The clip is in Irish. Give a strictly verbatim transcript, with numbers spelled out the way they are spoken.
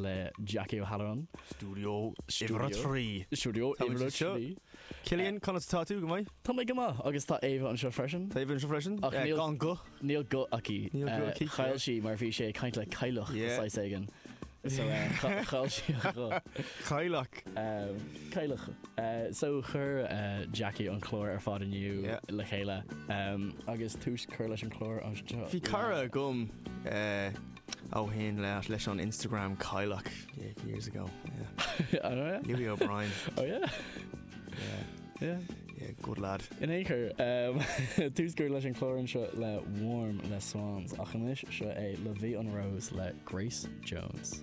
Le Jackie O'Halloran. Studio uimhir a trí. Studio Tá muid uimhir a anseo. trí. Cillian, conas tá tú go maith? Tá mé go maith agus tá Ava anseo freisin. Tá Ava anseo freisin? Ach Eh, níl- Gan guth. Níl guth aici. Níl guth Eh, aici, Chaill yeah. sí mar bhí sé ag caint le cailleach Yeah. saghas éigin. So eh, cha- chaill sí a guth. Cailleach. Um, Cailleach. Uh, so chuir uh, Jackie an clár ar fad inniu Yeah. le chéile um, agus tús cur leis an clár anseo. Bhí cara agam eh, ó shin le leis an Instagram Cailleach yeah, years ago. Yeah. Oh, yeah? Louis O'Brien. Oh yeah. Yeah. Yeah. Yeah, good lad. In aon chor um, tús cur leis an clár anseo le Warm le Swans ach anois seo é La Vie en Rose le Grace Jones.